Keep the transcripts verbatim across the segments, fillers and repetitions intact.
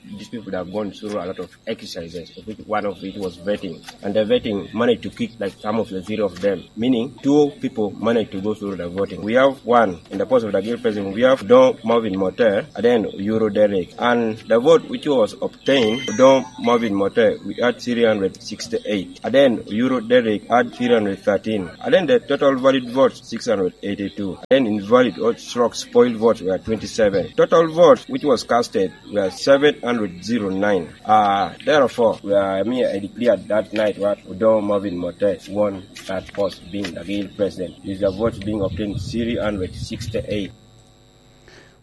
These people have gone through a lot of exercises, of which one of it was vetting. And the vetting managed to kick, like, some of the three of them, meaning two people managed to go through the voting. We have one in the post of the guild president. We have Don Marvin Mote, and then Euro Derek. And the vote which was obtained, Don Marvin Mote, we had three hundred sixty-eight. And then Euro Derek had three hundred thirteen. And then the total valid votes, six hundred eighty-two. And then invalid or struck spoiled votes were twenty-seven. Total votes which was casted were seven hundred zero nine. Uh, therefore, uh, me, I declared that night what Odongo Marvin Mote won that post, being the guild president, with the votes being obtained three hundred sixty-eight.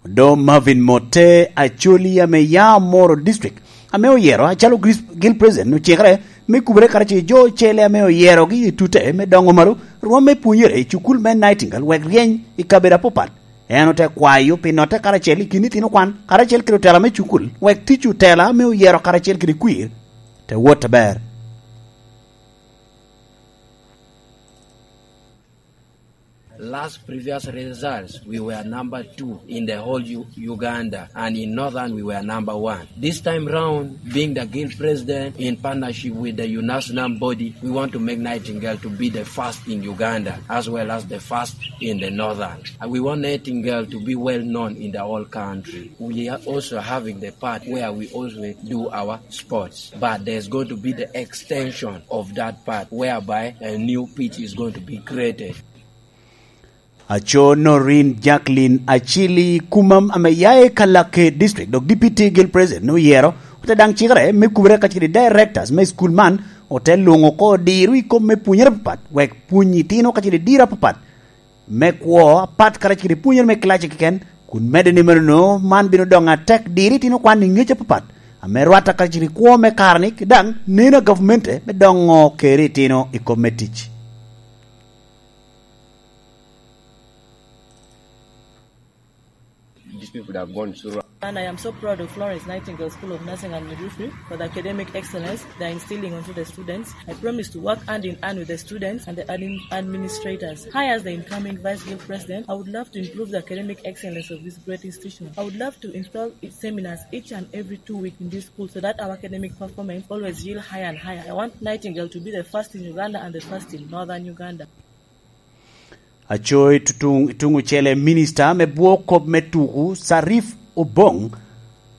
Odongo Marvin Mote, Acholi ame ya Moro District, ame oyero acalo gris-, guild president, ocikere me kubere karacel jo ocele ame oyerogi i tute me dongo malo rwom me pwonyere i cukul me Nightingale wek ryeny i kabedo apapat. En ote kwayo pi notte karacel i kin itino kwan, karacel kede otela me cukul, wek tic otela ame oyero karacel kede kwir te wot aber. Last previous results, we were number two in the whole U-, Uganda, and in Northern, we were number one. This time round, being the guild president in partnership with the UNASNAM body, we want to make Nightingale to be the first in Uganda, as well as the first in the Northern. And we want Nightingale to be well known in the whole country. We are also having the part where we also do our sports, but there's going to be the extension of that part whereby a new pitch is going to be created. Aco Noreen Jacqueline Achili Kumam ame ya i Kalake District, dok Deputy Guild President oyero, ote daŋ cikere me kubere kacel kede directors me school man, ote luŋo oko diro i kom me pwonyere apapat, wek pwony itino kacel kede diro apapat me kwo apat karacel kede pwonyere me kilaci keken, kun medde ni meno man bino doŋ atek diro itino kwan i ŋec apapat, ame rwatte karacel kede kwo me kare-ni, daŋ neno a gavmente me doŋo keri itino i kom me tic. These people that have gone through. And I am so proud of Florence Nightingale School of Nursing and Midwifery for the academic excellence they are instilling onto the students. I promise to work hand in hand with the students and the admin-, administrators. Hi, as the incoming Vice Guild President, I would love to improve the academic excellence of this great institution. I would love to install its seminars each and every two weeks in this school so that our academic performance always yield higher and higher. I want Nightingale to be the first in Uganda and the first in Northern Uganda. Aco i tutuŋ, i tuŋ ocele, minista me bwo kop me tuku, Sarif Obong,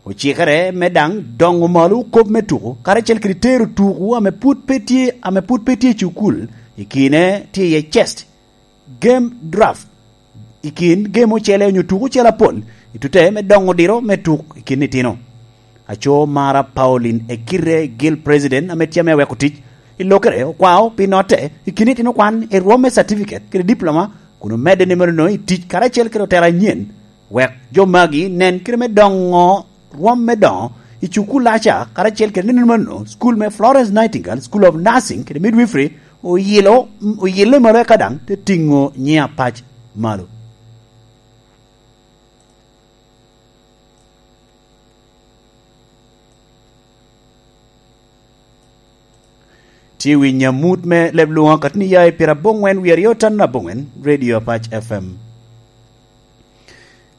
ocikere me daŋ doŋo malo kop me tuku, karacel kede tero tuku ame pwod pe tye, ame pwod pe tye i cukul, i kine tye iye chest, game draft, i kin game ocele onyo tuku ocele apol, i tute me doŋo diro me tuk i kin itino. Aco Mara Pauline Ekire, Guild President ame tye ame aweko tic i lokere, okwao pi notte i kin itino kwan i rwom me certificate kede diploma, kun omedde ni meno i tic karacel kede otela anyen, wek jo magi nen kite me doŋo rwom me doŋo i cukul aca karacel kede nino meno, school me Florence Nightingale School of Nursing kede Midwifery oyilo, oyille malo eka daŋ te tiŋo nyiŋ apac malo. Tye wi nyamut me leb lwoŋo akatni ya i pira aboŋwen wie aryo tan aboŋwen, Radio Apac F M.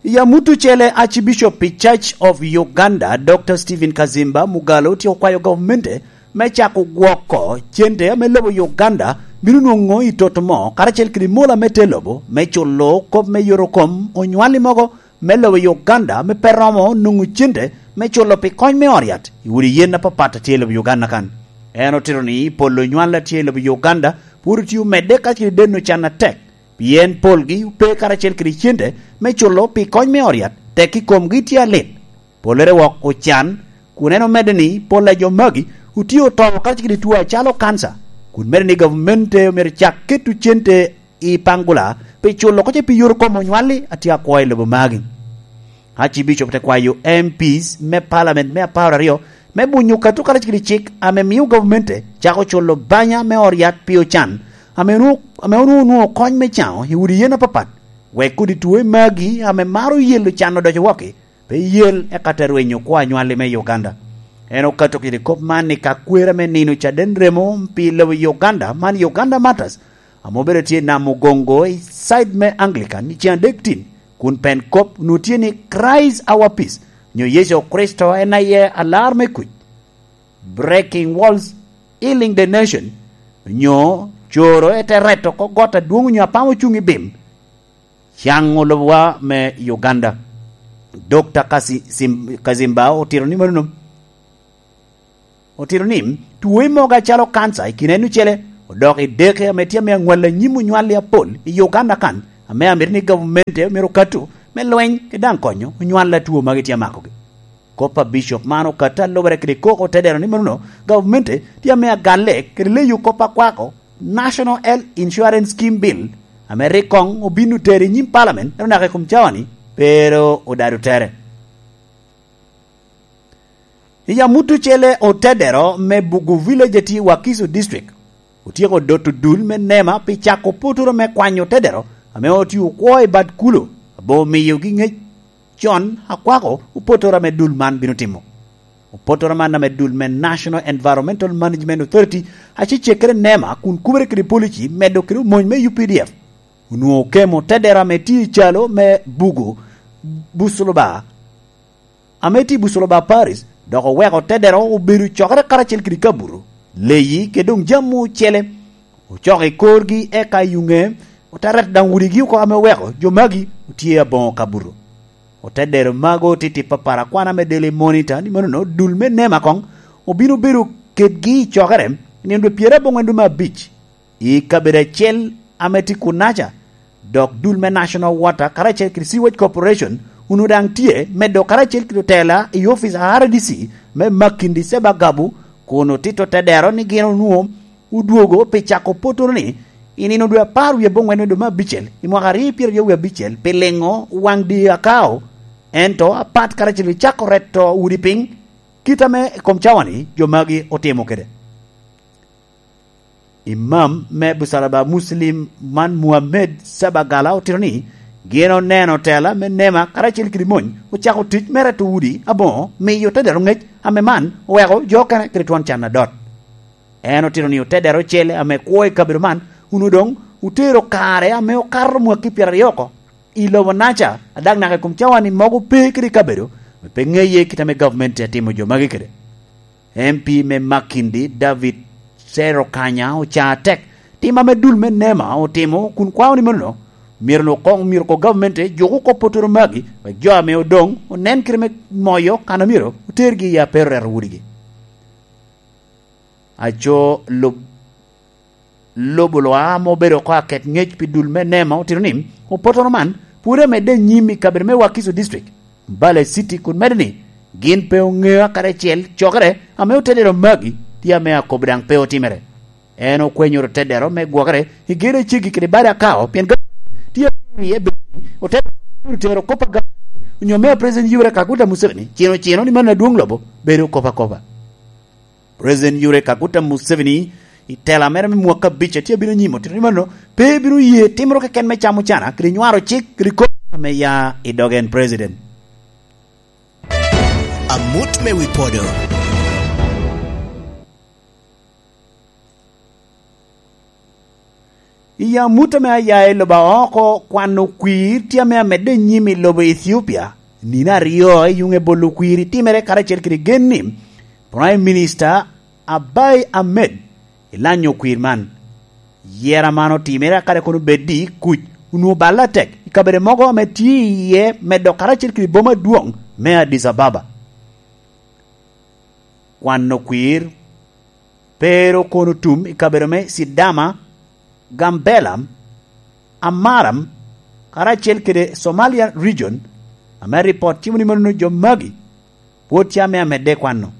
I amut ocele, Archbishop pi Church of Uganda, Doctor Stephen Kazimba Mugalu, tye okwayo gavmente me cako gwoko cente ame lobo Uganda bino nwoŋo i toto mo, karacel kede mola me te lobo, me culo kop me yorokom onywali mogo me lobo Uganda ame pe romo nwoŋo cente me culo pi kony me ot yat i udi yen apapat a tye i lobo Uganda kan. En otito ni pol onywali a tye i lobo Uganda pwod otye omedde ka tye deno can atek, pien polgi ope karacel kede cente me culo pi kony me ot yat, tek i komgi tye alit. Pollere wok ocan, kun en omedde ni pol a jo magi otye oto karacel kede two acalo kanca, kun medde ni gavmente omyero cak keto cente i Pangula pi culo kocce pi yot kom onywali a tye akwo i lobo magi. Archbishop te kwayo M Ps me Parliament me apar aryo me bunyo kato karacel kede cik ame mio gavmente cako culo banya me ot yat pi ocan ame onwo-, ame onwoŋo onwoŋo kony me caŋo i udi yen apapat, wek kodi two magi ame maro yelo can odoco wokki, pe yel eka te rwenyo kwo anywali me Uganda. En okato kede kop man i ka kwera me nino caden remo pi lobo Uganda, man Uganda Martyrs, ame obedo tye i Namugongo i side me Anglican i ceng adek tin, kun pen kop onwoŋo tye ni Christ Our Peace, nyo Yecu Kricito en aye alar me kuc, breaking walls, healing the nation, nyo coro ete reto oko got adwoŋ onyo apamo cuŋ i bim, caŋo lobowa me Uganda. Dokta Kasi-, Sim-, Kazimba otito ni manono. Otito ni, two i mogo acalo kanca i kine en ocele, odok i deke ame tye ame aŋwal anyim onywalli apol i Uganda kan, ame amito ni gavumenti myero okatu me lweny, kede daŋ konyo onywalla two magi tye amakogi. Kop a Bishop man okato alubere kede koko otedero ni manono, gavumenti tye ame agalle kede leyo kop akwako National Health Insurance Scheme Bill, ame rik koŋ obin otero i nyim Parliament, ento naka i kom cawa-ni, pe ru odado tere. I amut ocele otedero me Bugu Village a tye i Wakiso District, otyeko doto dul me nema pi cako potoro me kwanyo otedero ame otye okwo i bad kulo, abo miyogi ŋec con akwako opotoro ame dul man bino timo. Opotoro man ame dul me National Environmental Management Authority acecekere nema kun kubere kede polici medo kede omony me U P D F, onwoŋo okemo otedero ame tye i calo me Bugu Busuluba, ame tye i Busoloba Paris, dok oweko otedero obedo cokere karacel kede kabuto, leyi, kede doŋ jami ocele. Ocoko i korgi eka i ŋe, ote reto daŋ udigi oko ame oweko jo magi otye aboŋo kabuto. Otedero mago titip apar akwana me Daily Monitor ni manono dul me nema koŋ obino bedo kedgi i cokere i nino dwe pyerabongwen dwe me abic. I kabedo acel ame tye kunaca, dok dul me National Water karacel kede Sewage Corporation onwoŋo daŋ tye medo karacel kede otela i ofic a R D C me Makindye Sebagabu, kun otito tedero ni gin onwoŋo odwogo pi cako potoro-ni i nino dwe apar wie aboŋwen me dwe me abicel i mwaka aryo pyeraryo wie abicel pi liŋo waŋ dye Akao, ento apat karacel kede cako reto udi piny, kit ame i kom cawa-ni jo magi otimo kede. Imam me Busalaba Muslim man Muhammed Sabagala otito ni, gin oneno tela me nema karacel kede mony ocako tic me reto udi aboŋo miyo te dero ŋec ame man oweko jo okene kede twon can adot. En otito ni otedero ocele ame kwo i kabedo man onwoŋo doŋ otero kare ame okato mwaki pyeraryo oko i lobo naca, a daŋ naka i kom cawa-ni mogo pe kede i kabedo, ame pe ŋeye kit ame gavumenti atimo jo magi kede. M P me Makindye, David Serukanya, oca atek tim ame dul me nema otimo kun kwao ni manono, myero lwak koŋ myero oko gavumenti juk oko potoro magi, wek jo ame odoŋ onen kite me moyo kan a myero otergi i apero reto wudigi. Aco lub-, lobo lwa ame obedo oko aket ŋec pi dul me nema otito ni, opotoro man pwod amedde anyim i kabedo me Wakiso District, Mbale City, kun medo ni gin pe oŋeo kadi acel cokere ame otedero magi tye ame akobo daŋ pe otimere. En okwenyo otedero me gwokere i gedo a ceggi kede bade Akao, pien gavumenti tye awiye bedo ni otedero bino tero kop a gavumenti onyo mea President Yoweri Kaguta Museveni cino cino ni mano adwoŋ lobo bedo kop akoba. President Yoweri Kaguta Museveni i tela mere me mwaka abic a tye abino nyim otito ni mano pe bino ye timoro keken me camo cana kede nywaro cik kede kop ame ya i dog en president. Amut me wi podo. I amut ame aya i lobo aoko, kwano kwir tye ame amedde nyim i lobo Ethiopia. Nino aryo i yuŋe bolo kwir itimere karacel kede gen ni Prime Minister Abiy Ahmed ilanyo kwir man. Yera man otimere akade kono beddi kuc onwoŋo balle atek i kabedo mogo ame tye iye medo karacel kede boma adwoŋ me Addis Ababa. Kwano kwir pe ru kono tum i kabedo me Sidama, Gambela, Amara, karacel kede Somalia region, ame ripot cimo ni mano jo magi pwod tye ame amedde kwano.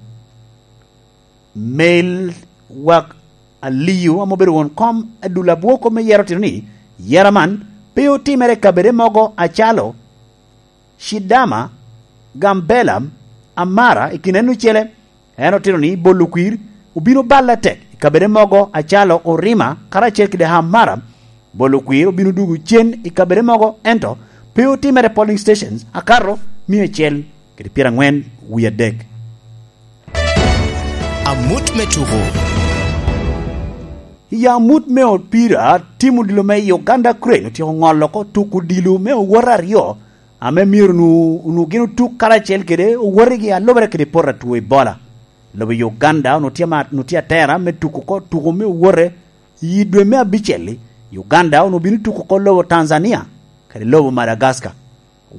Mail wak Aliyu ame obedo won kom adul abwoko me yero otito ni, yera man pe otimere i kabedo mogo acalo Shidama, Gambela, Amara i kin en ocele. En otito ni bolo kwir obino balle atek i kabedo mogo acalo Orima karacel kede Amara. Bolo kwir obino dugo cen i kabedo mogo, ento pe otimere polling stations akato mia acel kede pyerangwen wie adek. Amut me tuko. I amut me opira, tim odilo me Uganda Crane otyeko ŋolo oko tuko odilo me owot aryo ame myero onwoŋo, onwoŋo gin otuk karacel kede owotegi a lubere kede poto a two Ebola. Lobo Uganda onwoŋo tye ama-, onwoŋo tye atera me tuko oko tuko me owote i dwe me abicel-li. Uganda onwoŋo bino tuko oko lobo Tanzania kede lobo Madagascar.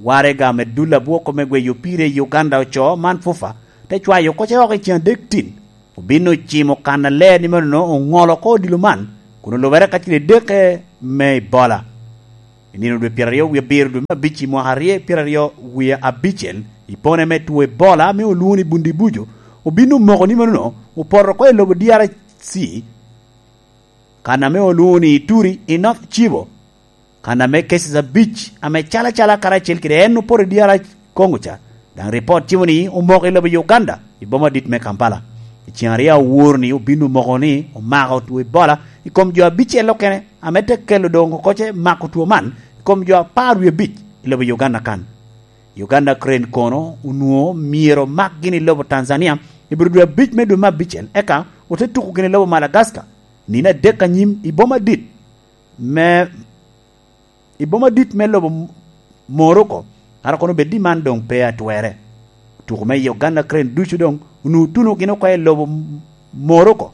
Waraga me dul abwoko me gweyo opira i Uganda ocoo man FUFA te cwayo oko ce oko i ceŋ adek tin. Obin ocimo kan aler ni meno oŋolo oko odilo man, kun olubere ka tye edeke me Ebola. I nino dwe pyeraryo wie abiro dwe me abic i mwaka aryo pyeraryo wie abicel, i pone me two Ebola ame olwoŋo ni Bundibujo, obin omoko ni meno opoto oko i lobo D R C, kan ame olwoŋo ni Ituri i North Kivu. Kan ame cases abic ame cal acala karacel kede en opoto i D R Congo ca, daŋ ripot timo ni omoko i lobo Uganda, i boma adit me Kampala. I ceŋ aryo awor ni obin omoko ni omako two Ebola i kom jo abicel okene, ame te kelo doŋ oko ce mako two man i kom jo apar wie abic i lobo Uganda kan. Uganda Crane kono onwoŋo myero omak gin i lobo Tanzania i bur dwe abic me dwe me abicel, eka ote tuko gin i lobo Madagascar nino adek anyim i boma adit me, i boma adit me lobo Morocco, kara kono bed ni man doŋ pe atwere. Tuko me Uganda Crane ducu doŋ onwoŋo tuno gin oko i lobo Morocco,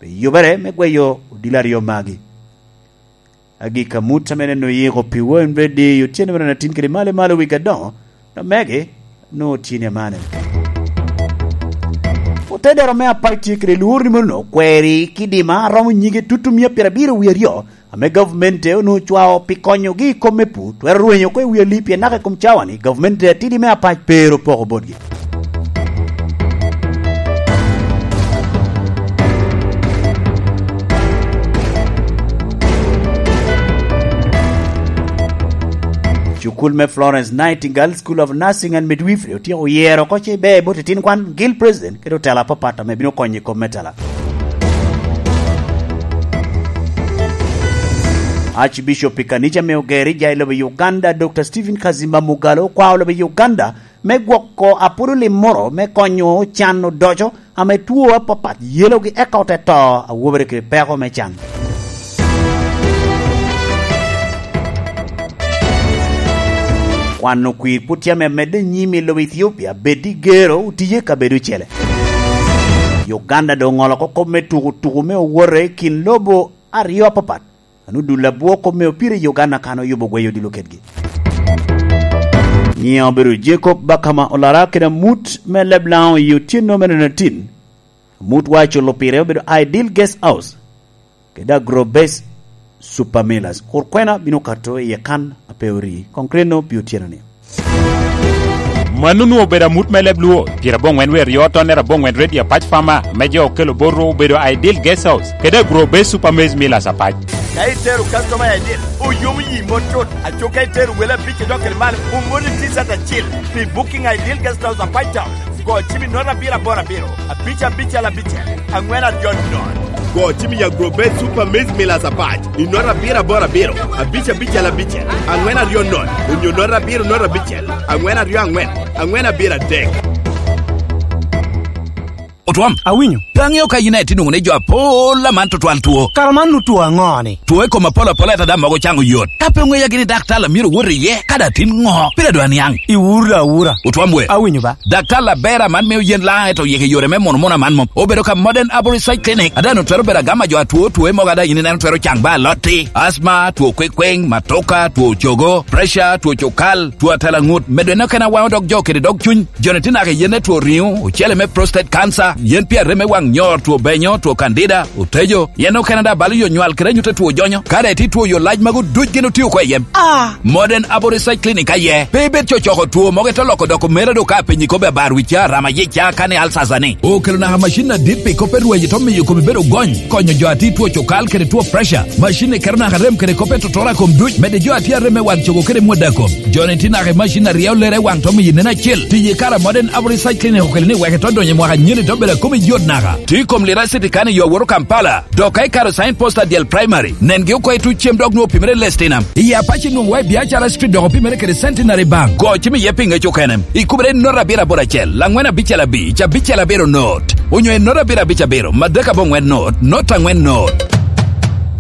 pi yubere me gweyo odilo aryo magi. Agikki amut ame neno yiko pi won Bredi otyeno mere atin kede malo malo wigi adoŋo, omege, nwoŋo tye ni amane. Otedero me apac tye kede lwor ni mono kweri kidima romo nyige tutu mia pyerabiro wie aryo, ame gavumenti onwoŋo cwao pi konyogi i kom me pur, twero rwenyo oko i wi alip pien naka i kom cawa-ni gavumenti atidi me apac pe ero poko botgi. Cukul me Florence Nightingale School of Nursing and Midwifery otyeko yero oko ce ber bot itin kwan, gil president, kede otela apapat ame bino konyo i kom me tela. Archbishop i kanica me Ogerija i lobo Uganda, Doctor Stephen Kazimba Mugalu, okwao lobo Uganda me gwoko apwodo lim moro me konyo can odoco ame two apapat yelogi eka ote to awobere kede peko me can. Kwano kwir pwod tye ame medde nyim i lobo Ethiopia, bed i gero otye i kabedo ocele. Uganda doŋ oŋolo oko kop me tuko tuko me owote i kin lobo aryo apapat. Anu dul abwoko me opira i Uganda kan oyubo gweyo odilo kedgi. Nyiŋe obedo Jacob Bakama Olara kede amut me Leblaŋo i otyeno mere atin. Amut wa culo pire obedo Ideal Guest House kede Agrobase Super Millers. Kur kwena bino kato iye kan ape ori. Konkreno pi otyeno-ni. Mano onwoŋo obedo amut me leb Luo, pyeraboŋwen wie aryo tonnere aboŋwen redio apac Fama, me jo okelo bot Rwok obedo Ideal Guest House, kede Agro Base Super Maize Millers apac. Ka itero customer I D, oyomo yi mot tut. Aco ka itero wele abic idok kede malo, omoni T-shirt acil pi booking Ideal Guest House apac Town. Go cim i note abiro aboro abiro, abic abicel abicel, angwen aryo note. Go cim i Agro Base Super Maize Millers apac i note abiro aboro abiro, abic abicel abicel, angwen aryo note, onyo note abiro note abicel, angwen aryo angwen, angwen abiro adek. Otwom. Awinyo. Pe aŋeo ka yin aye tye nwoŋo ni jo apol aman tutwal two. Kara man otwo aŋo-ni? Two i kom apol apola ento daŋ mogo caŋ oyot. Ka pe oŋeya gini daktar a myero owot iye, ka daŋ tin ŋo? Pire dwa niaŋ. Iwura awura. Otwom we. Awinyo ba. Daktar aber aman mio yen laŋ ento yeke yore me mono mono aman mom. Obedo ka Modern Arborist Side Clinic. Ada no twero bedo agama jo atwo two mogo ada yin ineno twero caŋ ba alotti. Asma, two kwekweng, matoka, two cogo, pressure, two cokal, two atela ŋut. Medo en okene awaŋo dog jo kede dog cuny. Joni tye naka i yen me two riŋo, ocele me prostate cancer, yen pi arem me waŋ nyor, two benyo, two candida, otejo, yen okene daŋ balo yo nywal kede anyut a two jonyo. Kare tye two yo lac magu duc gin otio oko i yem. Ah! Modern Aboriginal Clinic aye. Pe ibed cocoko two mogo ito loko doko mera do ka penyi kobe abar wica, rama yica, kani alsasa ni. Okelo naka macin adit pi kop me rweyo to miyo kome bedo gony, konyo jo a tye two cokal kede two pressure. Macin ni keto naka rem kede kop me totora kom duc, medde jo a tye arem me wan cogo kede mwada kom. Joni tye naka i macin a ryeo lere i waŋ to miyo nen acel. Tiyo i kare a Modern Aboriginal Research Clinic okelo ni wek ito donyo i mwaka anyen ito bedo a kome yot naka. Tye i kom lira city kan i yo awoto Kampala. Dok ka ikato sign post adyel primary, nengi oko i tuc cem dok nwoŋo opimere i Lestinam. I Apac inwoŋo wa i Biacara Street dok opimere kede Centenary Bank. Go cim iye pi ŋec okene. Ikubere i note abiro aboro acel, angwen abicel abic, abicel abiro note. Onyo i note abiro abic abiro, madek aboŋwen note, note angwen note.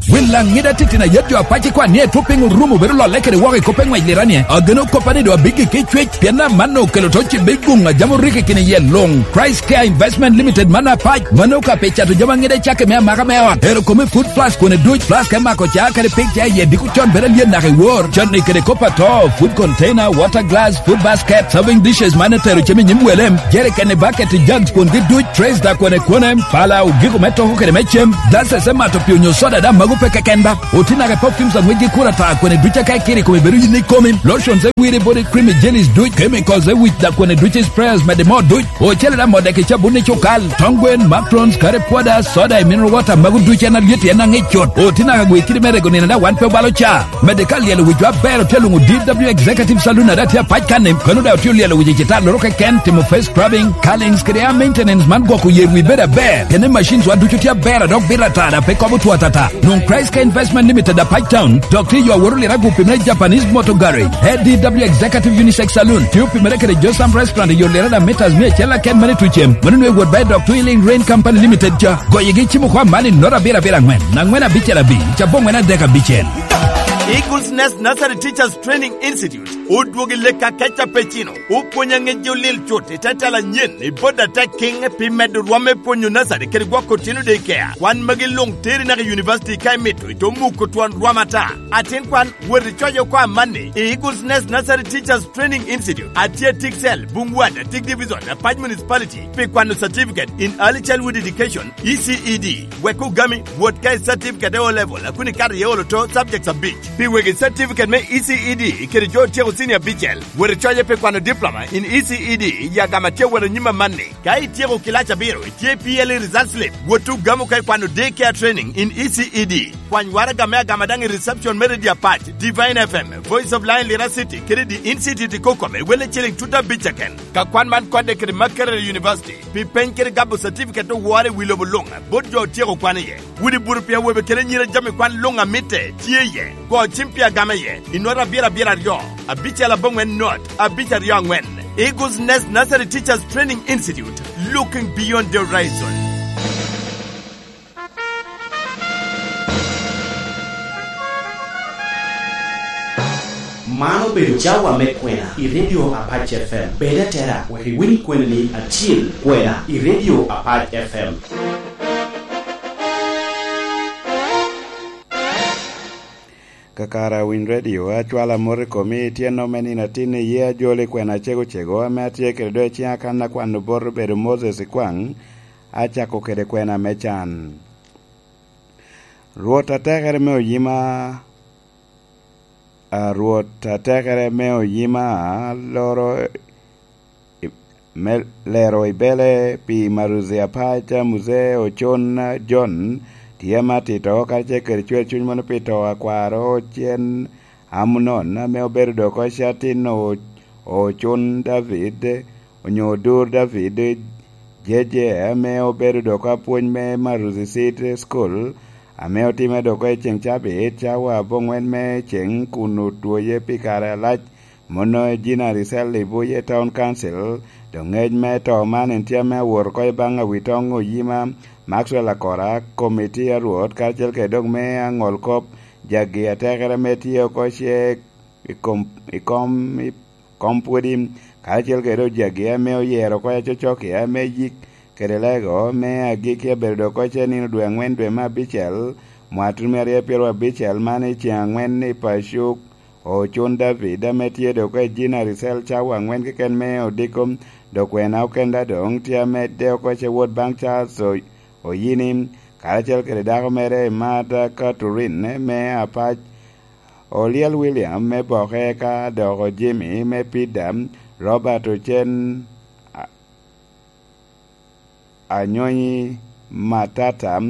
Wil Laŋida titino ayet jo apac i kwan ni etwop piny orumo bedo lolle kede woko i kop eŋwec liranie. Ageno koppa ni doŋ abiggi ki cwec, pien amanno okelo to cibe i guŋ a jam oriko i kine yel luŋ. Christ Care Investment Limited man apac, mano ka pe cato jami aŋida i cakke me amaka me ot. Ero kome food plus kwene duc, plus ka imako ca kede pig ca i yie diko con bedo alyen naka i wor. Canni kede kop ato, food container, water glass, food basket, serving dishes man etero cem i nyim wele, jerikeni, bucket, jugs kwongi duc, trays da kwene kwene, pala, ogiko me toko kede me cem, glasses me mato pii onyo soda da mago pe keken ba. Oti naka i perfumes aŋwec gi kura ta kwene duc aka ikiri kome bedo yin ikomi, lotions e wiri body cream i jellies duc, chemicals e wic da kwene duc i sprayers mede mo duc, ocele da mode ki cabun i cukal, tong gwen, macrons, curry powder, soda i mineral water mago duc en alyet en aŋic cut. Oti naka gwe kidi me rego nino da wan pe obalo ca. Mede ka lyelo wicwa aber otye luŋo D W Executive Saloon ada tye apac kanni, kono da otye olyelo wic i cita loro keken, timo face scrubbing, curlings kede hair maintenance man gwoko yer wi bedo aber. Kene machines wa ducu tye aber a dok bito ata da pe kobo two atata. Nwoŋ Christ Care Investment Limited apac town, dok tye yo aworo lira gupi me Japanese Motor Garage. A D W Executive Unisex Saloon, tye opimere kede Josam Restaurant i yo lira da meters mia acel aken mane tucem. Mano nwe wot ba i dok Twilling Rain Company Limited ca. Goyegi cimo kwa man i nota abiro abiro aŋwen, aŋwen abicel abic, cabongwen adek abicel. Eagles Nest Nursery Teachers Training Institute odwogo i lek akeca pe cino, opwonyo aŋeji olil cut i te tela anyen i bot atek kiŋ pi medo rwom me pwonyo nursery kede gwoko otino daycare. Kwan magi luŋ teri naka i university ka imito, ito muko twon rwom ata. Atin kwan, wot icoc oko amanni i Eagles Nest Nursery Teachers Training Institute, atye Tiksel, Bungwat, Atik Division, Apac Municipality, pi kwano Certificate in Early Childhood Education, E C E D. Wek ogami, wot ka i certificate e O level, a kun ikato iye olo to subjects abic. Pi wegi certificate me E C E D kede jo otyeko senior abicel, wot icoye pi kwano diploma in E C E D i agama tye awot anyim amanni. Ka ityeko kilac abiro, itye P L E result slip, wot ogamo ka ikwano day care training in E C E D. Kwany waraga me agama daŋ i reception me Radio Apac, Divine F M, Voice of Lion Lira City, kede The Institute i Kokome, welle ciling tut abic keken. Ka kwan man kodde kede Makerere University, pi peny kede gabo certificate owore i wi lobo luŋ, bot jo otyeko kwan iye. Wudi buru pi awobe kede anyira jami kwan luŋ a mitte tye iye. Go cim pi agama iye, i nota abiro abiro aryo, abicel aboŋwen not, abic aryo aŋwen. Eagles Nest Nursery Teachers Training Institute, looking beyond the horizon. Man obedo cawa me kwena i Radio Apac F M. Bed atera, wek iwiny kwena ni atyel kwena i Radio Apac F M. Kakare awiny redio, acwalo amot i komi, tyen ome nino atin iye ajolo i kwena acego cego ame atye kede do i ciŋa kan akwano bot obedo Moses Ikwaŋ, acako kede kwena me can. Rwot atekere me oyima, a, Rwot atekere me oyima, loro i, me lero i bele pi Maruzi Apac, Muzee Ocon John, tye ame atito, karacel kede cwer cuny mono pi to a kwaro Ocen Amunon, ame obedo dok oko catin o-, Ocon David, onyo Odur David, Jeje, ame obedo dok apwony me Maruzi Seed School, ame otime dok oko i ceŋ cabit, cawa aboŋwen me ceŋ, kun otwoye pi kare alac, Mono Ejina Ricel i Buye Town Council, doŋ ŋec me to man en tye ame awot oko i baŋ awitoŋ oyima Maxwell Akora, komiti a Rwot, karacel kede dok me aŋol kop jagi atekere ame tye oko ce i kom, i kom, i kom pwodi, karacel kede dok jagi ame oyero oko acocok i ame yik kede lego me agikki abedo dok oko ce nino dwe aŋwen dwe me abicel, mwatun me aryo pyero abicel man i ceŋ aŋwen i Pacuk, Ocun David ame tye dok ejina Ricel cawa aŋwen keken me odiko, dok wena okenda doŋ tye amedde oko ce wot baŋ Charles O-, Oyini, karacel kede dako mere Martha Catherine me Apac, Olyel William me Boke, ka dok Jimmy me Pida, Robert Ocen, a-, Anyonyi Matata,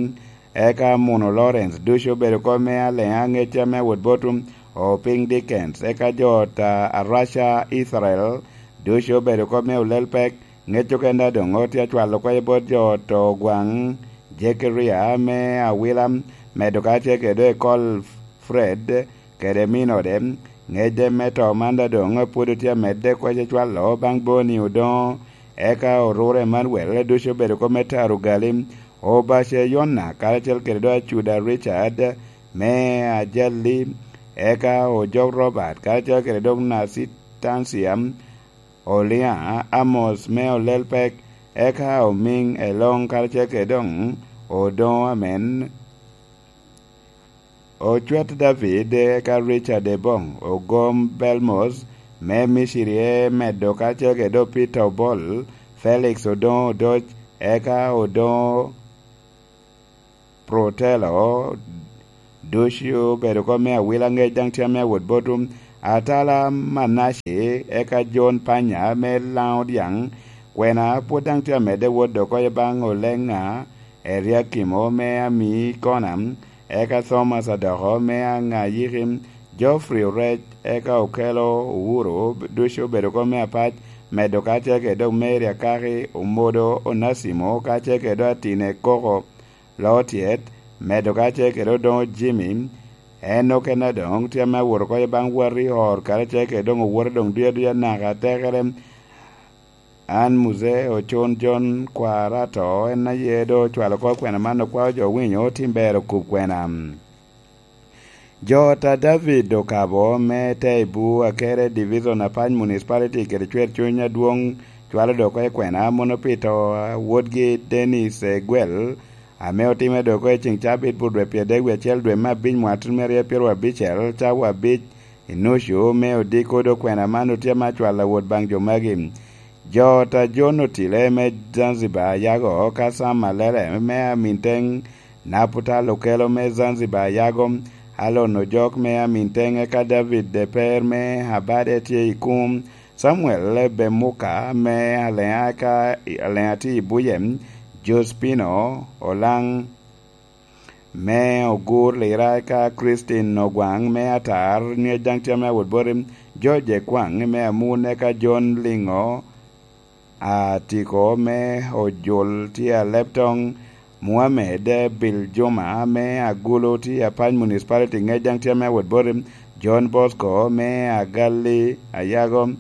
eka Muno Lawrence, ducu obedo kop me Aleŋa Aŋeca me Wot Botum, Oping Dickens, eka jo ta Araca Israel, ducu obedo kop me Olel Pek, ŋec okenda doŋ otye acwalo kop bot jo to Ogwaŋ, Jekaria me Awila, medo kacel kede Ekol Fred, kede minode, ŋec me to man da doŋ pwod otye amedde kweco cwalo baŋ Boni Odoŋo, eka Orure Emanuel, ducu obedo kop me taro gali, Obace Yona, karacel kede do Acuda Richard, me Ajali, eka Ojok Robert, karacel kede dok Nasitancia Olia, Amos me Olelpek, eka Omiŋ Eloŋ, karacel kede dok Odoŋo Amen, Ocwet David, eka Richard Ebong, Ogom Belmos me Miciri, emedo karacel kede dok Peter Obol, Felix Odoŋo Odoc, eka Odoŋo Protelo, ducu obedo kop me Awila, ŋec daŋ tye ame awot bot Atala Manace, eka John Panya me Laŋo Dyaŋ, kwena pwod daŋ tye amedde wot dok oko i baŋ Oleŋa, Eriakimo me Ami Kona, eka Thomas Adoko me Aŋayiki, Geoffrey Orec, eka Okelo Owuro, ducu obedo kop me Apac, medo kacel kede dok Mary Akaki, Omodo Onasimo, kacel kede dok Atine Koko, Lotyet, medo kacel kede Odoŋo Jimmy, en okene doŋ tye ame awot oko i baŋ Wari Or, karacel kede doŋ owote doŋ duc aduca naka atekere. An Muse Ocon John Kwarato, en aye doŋ ocwalo kop kwena man, okwao jo winyo, tim ber okub kwena. Jo ta David Okabo me Teibu, Akere Division, Apac Municipality, kede cwer cuny adwoŋ cwalo dok oko i kwena, mono pi to a wotgi Dennis Egwel, ame otimme dok oko i ceŋ cabit bur dwe pyeradek wie acel dwe me abic mwaka tutumia aryo pyeraryo abicel, cawa abic i nucu me odiko. Dok kwena man otye ame acwalo awot baŋ jo magi. Jo ta John Otile me Zanzibar Yago, ka Sam Malele me Aminteng, Naputal Okelo me Zanzibar Yago, Alon Ojok me Aminteng, eka David Deper me Abade tye i Kum, Samuel Bemuka me Aleŋa, eka Aleŋa tye i Buye, Jospino Olaŋ me Ogur Lira, eka Christine Ogwaŋ me Atar, ni daŋ tye ame awot boti, George Ekwaŋ me Amun, eka John Liŋo Atiko me Ojul tye Aleptoŋ, Muhammed Biljuma me Agulu tye Apac Municipality, ŋec daŋ tye ame awot boti, John Bosco me Agalli Ayago,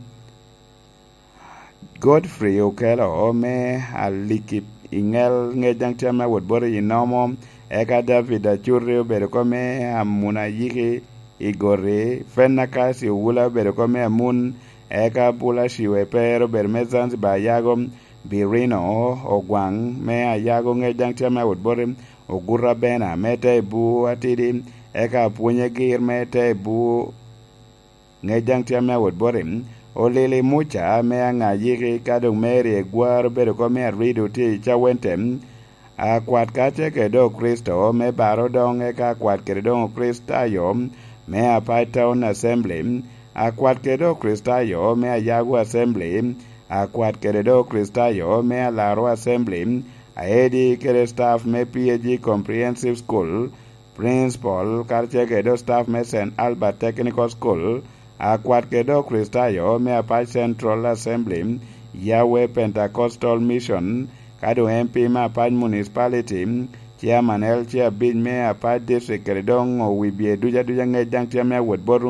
Godfrey Okelo me Aliki i Ŋel, ŋec daŋ tye ame awot boti i Nomo, eka David Acuti obedo oko me Amun Ayiki i Goti, Fenakasi Owula obedo oko me Amun, eka Bula Ciwe Eper obedo me Zanzibar Ayago, Birino Ogwaŋ me Ayago, ŋec daŋ tye ame awot boti, Oguta Bena me Teibu Atidi, eka Apwonye Gir me Teibu, ŋec daŋ tye ame awot boti, Olili Muca me Aŋayiki, ka doŋ Mary Egwar obedo oko me Arido tye i Cawente, Akwat kacel kede doŋ Kricito me Baro doŋ, eka Akwat kede doŋ Kricitayo me Apac Town Assembly, Akwat kede doŋ Kricitayo me Ayago Assembly, Akwat kede doŋ Kricitayo me Alaro Assembly, Aedi kede staff me P A G Comprehensive School, Principal, karacel kede doŋ staff me Saint Albert Technical School, Akwat kede doŋ Kricitayo me Apac Central Assembly, Yahweh Pentecostal Mission, ka doŋ M P me Apac Municipality, Chairman L C abic me Apac District, kede doŋ owibye ducu aduca, ŋec daŋ tye ame awot bot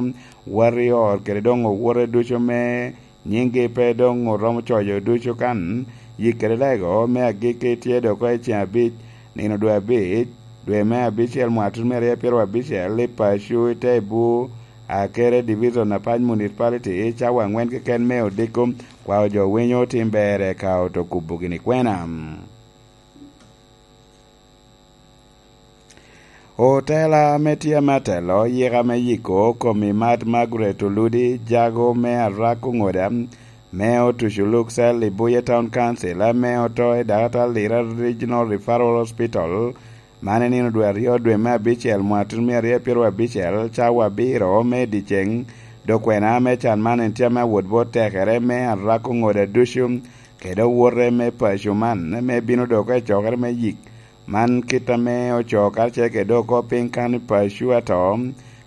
Warrior, kede doŋ owote ducu me nyiŋgi pe doŋ oromo coyo ducu kan, yik kede lego me agikki tye dok oko i ceŋ abic, nino dwe abic, dwe me abicel, mwaka tutumia aryo pyeraryo abicel, i paco i Teibu, Akere Division, Apac Municipality, cawa aŋwen keken me odiko, kwao jo winyo otim ber eka oto kubo gini kwena. Otela ame tye ame atelo yika me yiko kom i mat Margaret Oludi Jago me Arako Ŋoda, me otuco luk cell i Buye Town Council, ame oto i Dakatar Lira Regional Referral Hospital, man i nino dwe aryo dwe me abicel mwaka tutumia aryo pyeraryo abicel, cawa abiro me dyeceŋ. Dok kwena me can man en tye ame awot bot tekere me Arako Ŋoda ducu, kede owote me paco man, me bino dok oko i cokere me yik. Man kit ame ocoo karacel kede dok oko piny kan i paco ato.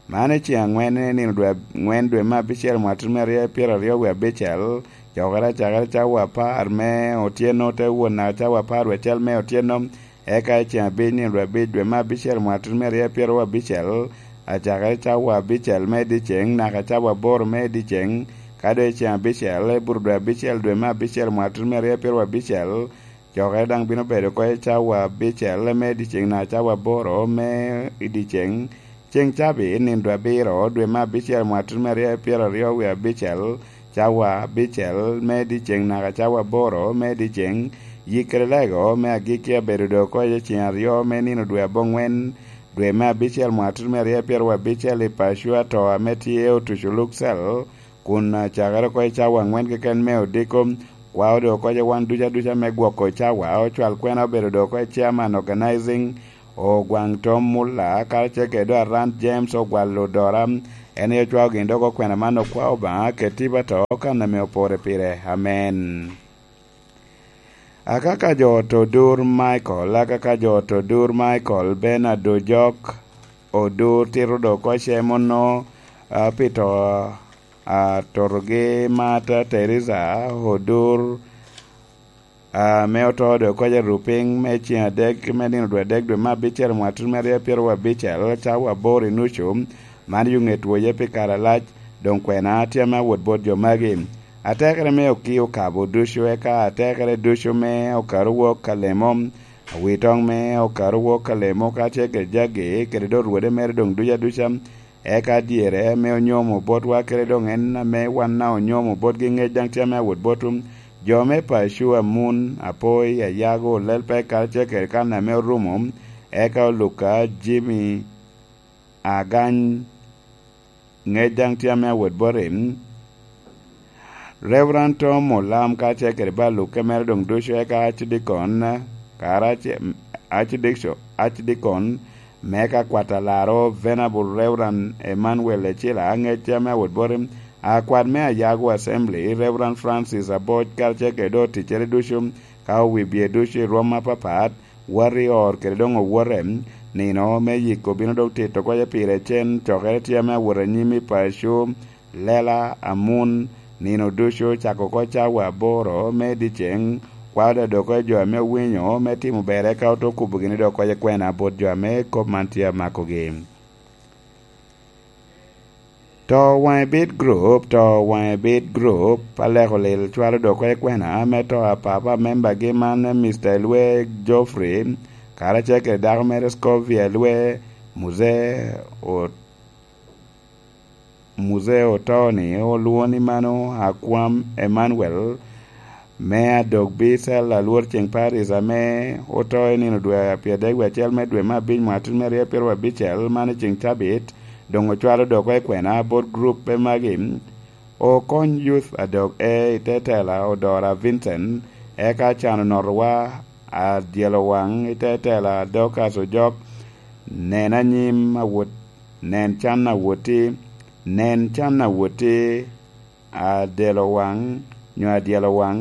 Man i ceŋ aŋwen, i nino dwe aŋwen dwe me abicel mwaka tutumia aryo pyeraryo wie abicel, cokere acakere cawa apar me otyeno te wot naka cawa apar wie acel me otyeno, eka i ceŋ abic nino dwe abic dwe me abicel mwaka tutumia aryo pyeraryo abicel, acakere cawa abicel me dyeceŋ naka cawa aboro me dyeceŋ, ka doŋ i ceŋ abicel i buto dwe abicel dwe me abicel mwaka tutumia aryo pyeraryo abicel, cokere daŋ bino bedo oko i cawa abicel me dyeceŋ naka cawa aboro me i dyeceŋ, Ceŋ cabit, nino dwe abiro, dwe me abicel, mwatut me aryo pyeraryo wie abicel, cawa abicel me dyeceŋ naka cawa aboro me dyeceŋ, yik kede lego me agikki abedo doŋ oko i ceŋ aryo me nino dwe aboŋwen, dwe me abicel, mwatut me aryo pyeraryo abicel, i paco ato ame tye otuco Luxel, kun acakere oko i cawa aŋwen keken me odiko. Kwao doŋ oko i wan duca duca me gwoko cawa, ocwal kwena obedo doŋ oko i chairman organizing, Ogwaŋ Tom Muller, karacel kede doŋ Arand James Ogwal Odora, en aye ocwao gin dok okwena man okwao Obaŋa kede tipo ato kan ame opore pire. Amen. Akaka jo ot Odur Michael, akaka jo ot Odur Michael, Bernard Ojok, Odur tito doŋ oko cem onno, a, pi to, a, totogi Martha Teresa Odur, ame oto doŋ oko i Rupiny me ceŋ adek me nino dwe adek dwe me abicel mwatut me aryo pyeraryo abicel, cawa aboro i nucu, man yo ŋet woye pi kare alac, doŋ kwena tye ame awot bot jo magi. Atekere me okio okabo ducu, eka atekere ducu me okaro wok ka lemo, awitoŋ me okaro wok ka lemo, ka tye kede jagi, kede doŋ rwode mere doŋ duca duca, eka dyere ame onyomo botwa kede doŋ en ame wan na onyomo botgi ŋec daŋ tye ame awot botwu. Jo me paco, Amun, Apoi, Ayago, Lelpek, karacel kede kan ame orumo, eka Oluka, Jimmy, Agany, ŋec daŋ tye ame awot boti. Reverend Tom Olam karacel kede balukke mere doŋ ducu, eka Archdeacon, kara Archdeacon, Archdeacon me ka kwat alaro, Venerable Reverend Emmanuel Ecila, ŋec tye ame awot boti, akwat me Ayago Assembly, Reverend Francis Aboc, karacel kede doŋ oticcere ducu, ka owibye ducu i rwom apapat, wot i or kede doŋ owote, nino me yiko bino doŋ tito oko pire cen, cokere tye ame awot anyim i paco, lela, Amun, nino ducu, cako oko cawa aboro me dyeceŋ, kwao daŋ doŋ oko i jo ame owinyo me timo ber, eka oto kubo gini doŋ oko i kwena bot jo ame kop man tye amakogi. To Waŋe Bit Group, To Waŋe Bit Group, aleko lil cwalo doŋ oko i kwena me to a papa membagi man, Mister Elwe Geoffrey, karacel kede dako mere Scovia Elwe, Muse o-, Muse oto ni olwoŋo ni mano Akwam Emmanuel, me adok Bicel, alwor ceŋ Paris, ame oto i nino dwe a pyeradek wie acel me dwe me abic mwatut me aryo pyeraryo abicel, man i ceŋ cabit, doŋ ocwalo doŋ oko i kwena bot gruppe magi. Okony Youth adok e i te tela Odora Vincent, eka can onotowa adyelo waŋ i te tela Dorcas Ojok, nen anyim awot, nen can awoti, nen can awoti, adelo waŋ, nyo adyelo waŋ,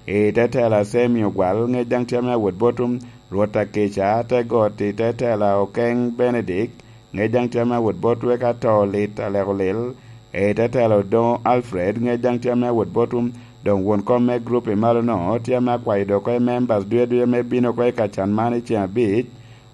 i te tela Semi Ogwal, ŋec daŋ tye ame awot botwu, Rwot Akica, te got i te tela Okeŋ Benedict, ŋec daŋ tye ame awot botwu, eka to lit aleko lil, i te tela Odoŋo Alfred, ŋec daŋ tye ame awot botwu, doŋ won kom me grup i malo-no, tye ame akwayo doŋ oko i members duya duya me bino oko i ka can man i ceŋ abic,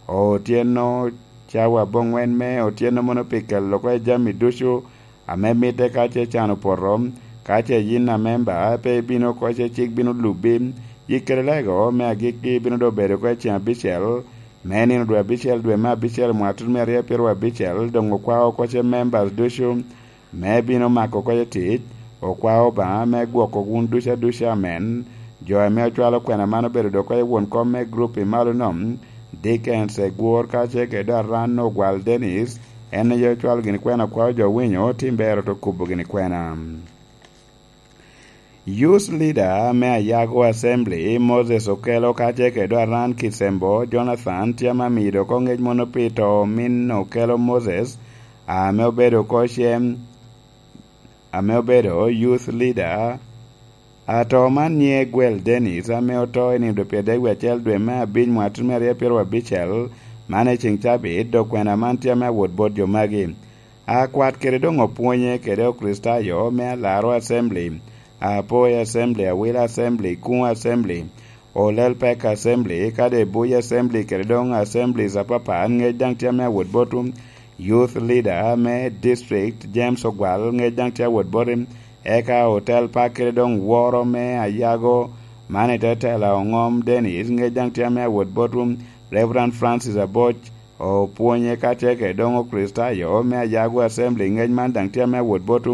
otyeno cawa aboŋwen me otyeno mono pi kelo oko i jami ducu, ame mitte ka ce can opoto, ka ce yin amemba pe ibino oko ce cik bino lubbi, yik kede lego me agikki bino doŋ bedo oko i ceŋ abicel, me nino dwe abicel, dwe me abicel, mwatut me aryo pyeraryo abicel, doŋ okwao oko ce members ducu, me bino mako oko ce tic, okwao Obaŋa me gwoko wun ducu aduca, amen. Jo ame ocwalo kwena man obedo doŋ oko i won kom me grup i malo-no, Dickens Egwor, ka ce kede Aran Ogwal Dennis, en aye ocwalo gini kwena kwao jo winyo, tim ber oto kubo gini kwena. Youth Leader me Ayago Assembly, Moses Okello, ka ce kede Aran Kisembo Jonathan, tye ame amido oko ŋec mono pi to min Okello Moses, ame obedo oko cem, ame obedo Youth Leader. Ato man nyiŋe Gwel Dennis, ame oto i nino dwe pyeradek wie acel dwe me abic mwatut me aryo pyeraryo abicel, man i ceŋ cabit, dok kwena man tye ame awot bot jo magi. Akwat kede doŋ opwonye kede Okricitayo me Alaro Assembly, Apoi Assembly, Awila Assembly, Kuŋ Assembly, Olel Pek Assembly, kadi Ebuy Assembly kede doŋ Assemblies apapat, ŋec daŋ tye ame awot botwu. Youth Leader me District, James Ogwal, ŋec daŋ tye awot boti. Eka otel pak kede doŋ woro me Ayago, man i te tela Oŋom Dennis, ŋec daŋ tye ame awot botwu. Reverend Francis Aboc, Opwonye ka tye kede doŋ Okricitayo me Ayago Assembly. Ŋec man daŋ tye ame awot bot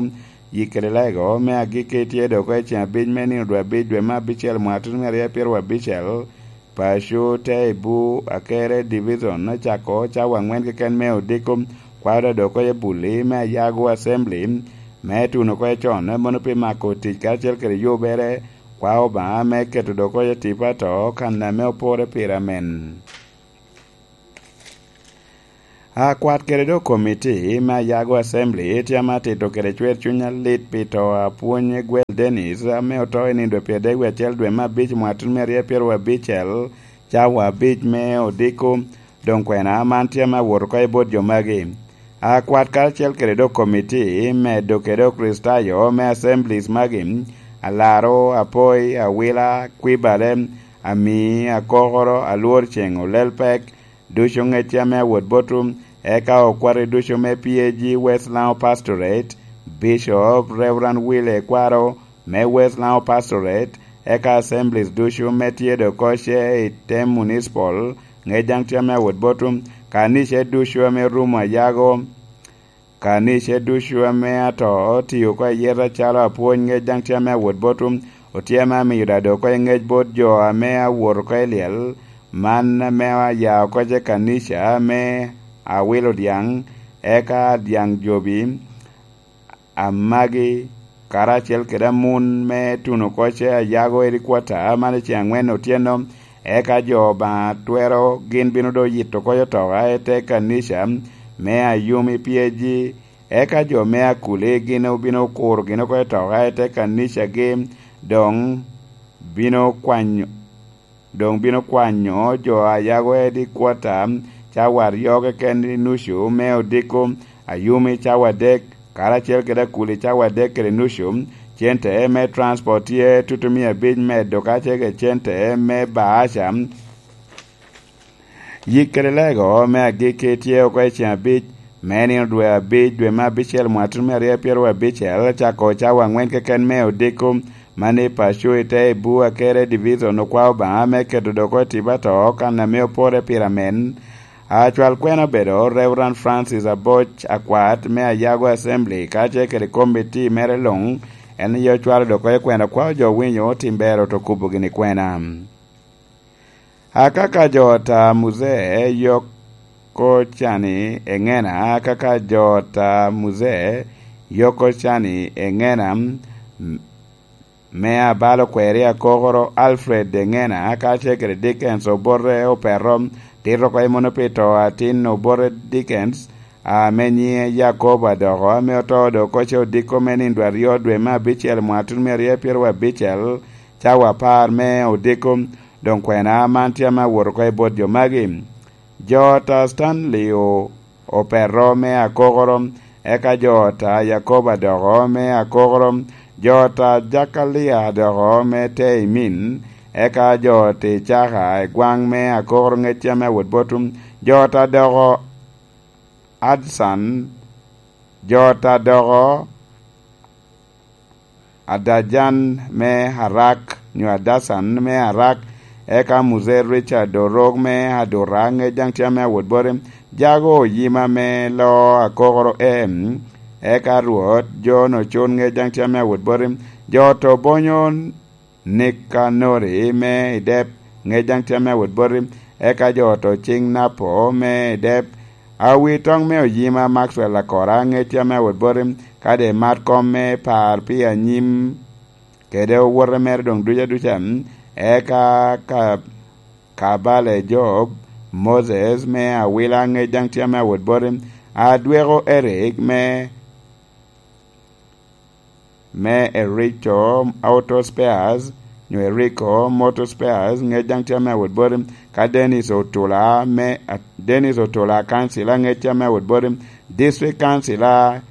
yikere lego me agikki, tye dok oko i ceŋ abic me nino dwe abic dwe me abicel mwaka tutumia aryo pyeraryo abicel. Paco te i bu Akere Division, ocako cawa aŋwen keken me odiko, kwao da dok oko i buli me Ayago Assembly me tuno oko i con, mono pi mako tic karacel kede yubere. Kwao Obaŋa me keto dok oko i tipo ato kan ame opore pire amen. Akwat kede dok komiti me Ayago Assembly tye ame atito kede cwer cuny alit pi to a pwony Gwel Dennis, ame oto i nino dwe pyeradek wie acel dwe me abic mwaka tutumia aryo pyeraryo abicel, cawa abic me odiko. Doŋ kwena man tye ame awot oko i bot jo magi. Akwat karacel kede dok komiti medo kede Okricitayo me Assemblies magi, Alaro, Apoi, Awila, Kwibale, Ami, Akokoro, Alwor Ceŋ, Olel Pek, ducu ŋecce ame awot botwu, eka okwati ducu me P A G West Lango Pastorate, Bishop Reverend Willy Ekwaro me West Lango Pastorate, eka assemblies ducu me tye dok oko ce i tem municipal, ŋec daŋ tye ame awot botwu, kanice ducu ame rumo Ayago, kanice ducu ame ato tio oko ayeta calo apwony, ŋec daŋ tye ame awot botwu, otye ame amiyo da dok oko i ŋec bot jo ame awot oko i lyel, man ame aya oko ce kanica me Awilo Dyaŋ, eka Dyaŋ Jobi, Amagi, karacel kede amun me tuno oko ce Ayago Headquarter, man i ceŋ aŋwen otyeno, eka jo Obaŋa twero gin bino do yito oko otoka i te kanica me Ayumi P A G, eka jo me Akuli gin obino kuro gin oko otoka i te kanicagi, doŋ bino kwanyo, doŋ bino kwanyo jo Ayago Headquarter cawa aryo keken i nucu me odiko, Ayumi cawa adek, karacel kede Akuli cawa adek kede nucu. Cente me transport tye tutumia abic medo kacel kede cente me baaca. Yik kede lego me agikki tye oko i ceŋ abic me nino dwe abic, dwe me abicel, mwaka tutumia aryo pyeraryo abicel, cako cawa aŋwen keken me odiko, man i paco i te i bu Akere Division, okwao Obaŋa me keto dok oko i tipo ato kan ame opore pire amen. Acwal kwena obedo Reverend Francis Aboc Akwat me Ayago Assembly, kacel kede komiti mere luŋ, en aye ocwalo dok oko i kwena, okwao jo winyo otim ber oto kubo gini kwena. Akaka jo ta Muzee yoko cani eŋena, akaka jo ta Muzee yoko cani eŋena, m-, me abalo kweri Akokoro Alfred eŋena, kacel kede Dickens Obote Opeto, tito oko i mono pi to atin Obote Dickens, ame nyiŋe Yakobo Adoko, ame oto dok oko ce odiko me nino dwe aryo dwe me abicel mwaka tutumia aryo pyeraryo abicel, cawa apar me odiko. Doŋ kwena man tye ame awot oko i bot jo magi. Jo ta Stanley O-, Opeto me Akokoro, eka jo ta Yakobo Adoko me Akokoro, jo ta Jakalia Adoko me Teimin, eka jo ta Icaka Egwaŋ me Akokoro, ŋec tye ame awot botwu, jo ta Adoko Adsan, jo ta Adoko Adajan me Arak, nyo Adasan me Arak, eka Muzee Richard Orok me Aduta, ŋec daŋ tye ame awot boti, Jago Oyima me Loo Akokoro M, eka Rwot John Ocun, ŋec daŋ tye ame awot boti, jo ta Obonyo Nikanori me Idep, ŋec daŋ tye ame awot boti, eka jo ta Ociŋ Napo me Idep, Awi Toŋ me Oyima Maxwell Akora, ŋec tye ame awot boti, kadi imat kom me par pi anyim kede owote mere doŋ duca duca, eka ka, Kabale Job, Moses me Awila, ŋec daŋ tye ame awot boti, Adweko Eric me me Erico Auto Spares, nyo Erico Motor Spares, ŋec daŋ tye ame awot boti, ka Dennis Otula me, Dennis Otula Kancila, ŋec tye ame awot boti, District Kancila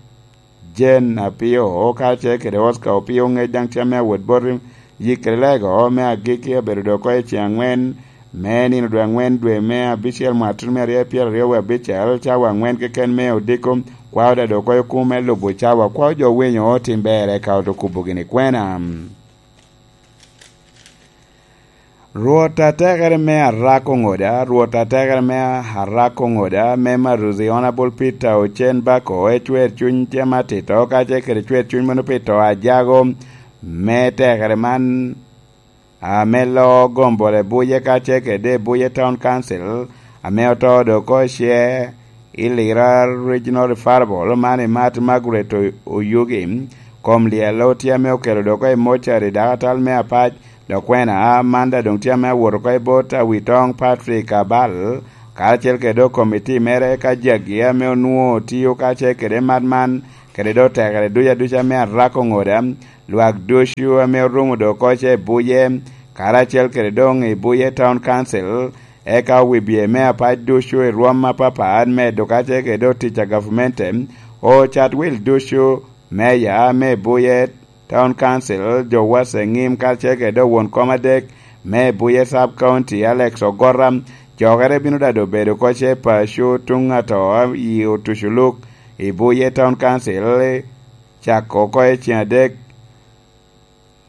Jane Apio, kacel kede Oscar Opio, ŋec daŋ tye ame awot boti, yik kede lego me agikki obedo dok oko i ceŋ aŋwen, me nino dwe aŋwen dwe me abicel mwaka tutumia aryo pyeraryo wie abicel, cawa aŋwen keken me odiko, kwao da dok oko i kumo me lubo cawa, kwao jo winyo otim ber eka oto kubo gini kwena. Rwot atekere me Arako Ŋoda, Rwot atekere me Arako Ŋoda, me Maruzi Honorable Peter Ocen Bako, ecwer cuny tye matito, ka ce kede cwer cuny mono pi to a jago me tekere man, ame loo gombole buye ka ce kede buye Town Council, ame oto do oko ice i Lira Regional Referral man i Mat Margaret O-, Oyugi, kom lyel otye ame okelo do oko i mocari dakatal me Apac, dok kwena man da doŋ tye ame awot oko i bot Awitong Patrick Abal, karacel kede do komiti mere ka jagi ame onwoŋo tio ka ce kede mat man, kede do tekere duc aduca me Arako Ŋoda, lwak ducu ame orumo do oko ce i buye, karacel kede doŋ i buye Town Council, eka owibye me Apac ducu i rwom apapat, medo ka ce kede do tic a gavmente, ocat wil ducu, meya me buye Town Council, jo wace ŋim karacel kede do won kom adek me buye Sub County, Alex Ogora, jokere bino dado bedo oko ce paco tuŋ ato i Otuculuk i buye Town Council, cako oko i ceng adek,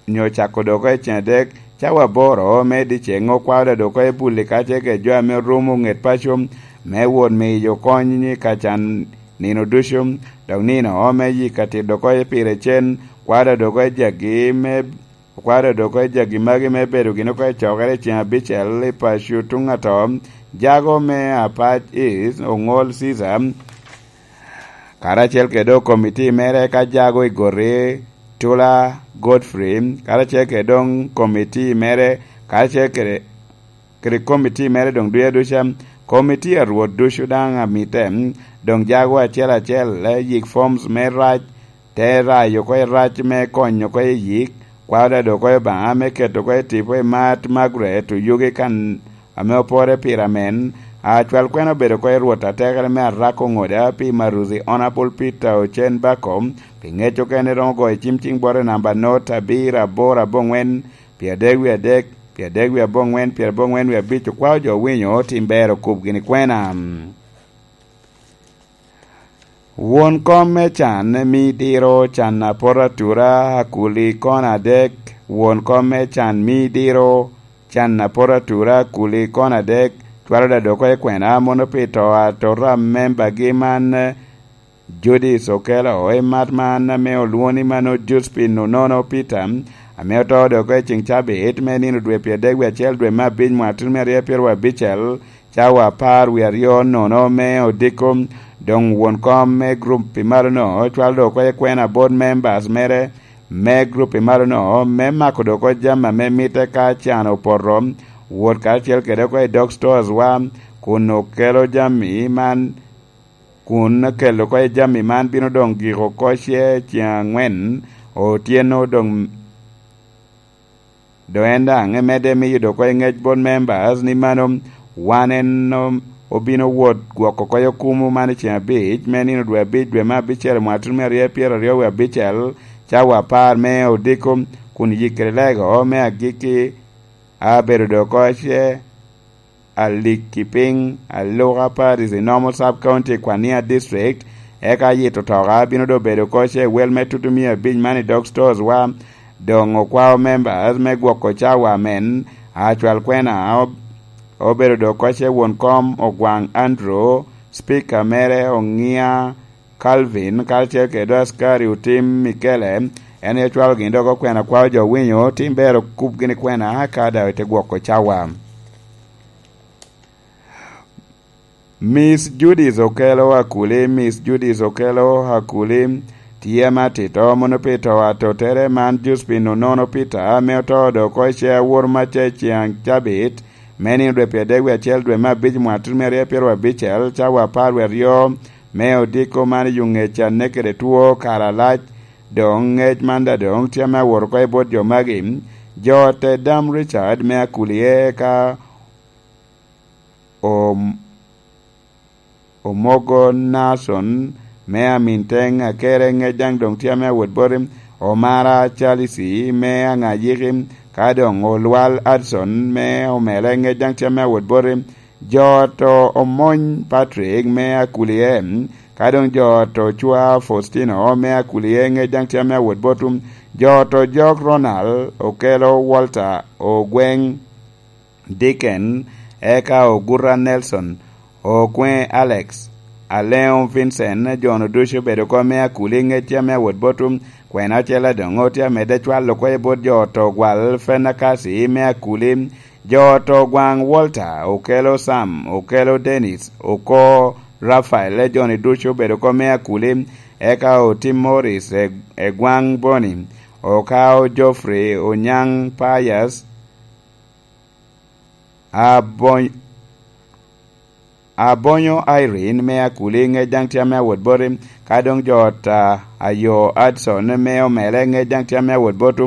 nyo cako do oko i ceng adek, cawa aboro me dyeceŋ okwao da do oko i Buli ka ce kede jo ame orumo ŋet paco me wot miyo kony i ka can nino ducu, dok nino me yik atit do oko i pire cen, kwao da do oko i jagi me, kwao da do oko i jagi magi me bedo gin oko i cokere i ceng abicel i paco tuŋ ato, jago me Apac East, Oŋol Caesar, karacel kede do komiti mere ka jago i Gori, Tula Godfrey, karacel kede doŋ komiti mere, karacel kede, kede komiti mere doŋ duya duca, komiti a Rwot ducu daŋ amite, doŋ jago acel acel, eh, yik forms me rac, te rayo oko i rac me konyo oko i yik, kwao da do oko i Obaŋa me keto oko i tipo i Mat Margaret Oyugi kan ame opore pire amen, acwal kwena obedo oko i Rwot atekere me Arako Ŋoda pi Maruzi Honorable Peter Ocen Bako, pi ŋec okene romo goyo cim ciŋ bote namba not abiro aboro aboŋwen, pi adek wie adek, pi adek wie aboŋwen, pi aboŋwen wie abic, okwao jo winyo tim ber okub gini kwena. Won kom me can mi diro can apot atura akuli kono adek, won kom me can mi diro can apot atura akuli kono adek, cwalo da do oko i kwena mono pi to atota a membagi man, Judith Okello, i mat man ame olwoŋo ni mano Josephine Onono Peter, ame oto do oko i ceŋ cabit me nino dwe pyeradek wie acel dwe me abic mwaka tutumia aryo pyeraryo abicel, cawa apar wie aryo nono me odiko, doŋ won kom me gurup i malo-no cwalo do oko i kwena bot members mere me gurup i malo-no me mako do oko jami ame mitte ka can opoto, wot karacel kede oko i dog stores wa, kun okelo jami man, kun okelo oko i jami man bino doŋ giko oko ce ceŋ aŋwen otyeno doŋ. Dok en daŋ emedde miyo dok oko i ŋec bot members ni mano wan en o-, obino wot gwoko oko i okumu man i ceŋ abic me nino dwe abic dwe me abicel mwaka tutumia aryo pyeraryo wie abicel, cawa apar me odiko, kun yikkere lego me agikki abedo dok oko ce Alikipiny, Aluka Parish, i Normal Sub County, Kwania District, eka yito toka bino doŋ bedo oko ce wel me tutu mia abic man i dog stores wa, doŋ okwao members me gwoko cawa amen, acwal kwena ob-, obedo doŋ oko ce won kom Ogwaŋ Andrew, speaker mere Oŋia Calvin, karacel kede askari otim Mikele, en aye cwalo gin dok okwena kwao jo winyo, tim ber okub gini kwena, ka daŋ ite gwoko cawa. Miss Judith Okello Akuli, Miss Judith Okello Akuli, tye matito mono pi to atotere man Josephine Onono Peter, ame oto dok oko i ce awor maca i ceŋ cabit, me nino dwe pyeradek wie acel dwe me abic mwaka tutumia aryo pyeraryo abicel, cawa apar wie aryo, me odiko man i yo ŋec a nekede two kare alac, doŋ ŋec man daŋ doŋ tye ame awot oko i bot jo magi. Jo ot Dam Richard me Akulie ka om-, Omogo Nason me Aminteng Akere ŋec daŋ doŋ tye ame awot boti. Omara Chalisi me Aŋayiki, ka doŋ Olwal Adson me Omele ŋec daŋ tye ame awot boti. Jo ot Omony Patrick me Akulie, ka doŋ jo ot Ocwa Faustino me Akulie ŋec daŋ tye ame awot botwu. Jo ot Ojok Ronald Okello Walter Ogweng Dicken, eka Oguta Nelson, Okwe Alex, Aleŋo Vincent. Jo-nu ducu obedo oko me Akuli, ŋec tye ame awot botwu. Kwena ocele doŋ tye amedde cwalo oko i bot jo oto gwal Fenakasi me Akuli. Jo oto gwaŋ Walter, okelo Sam, okelo Dennis, oko Rafael. Jo-ni ducu obedo oko me Akuli, eka Otim Morris, e, Egwaŋ Boni, okao Geoffrey, Onyaŋ Pius, Abony-, Abonyo Irene me Akuli, ŋec daŋ tye ame awot boti. Ka doŋ jo ot a Ayo Adson me Omele, ŋec daŋ tye ame awot botwu.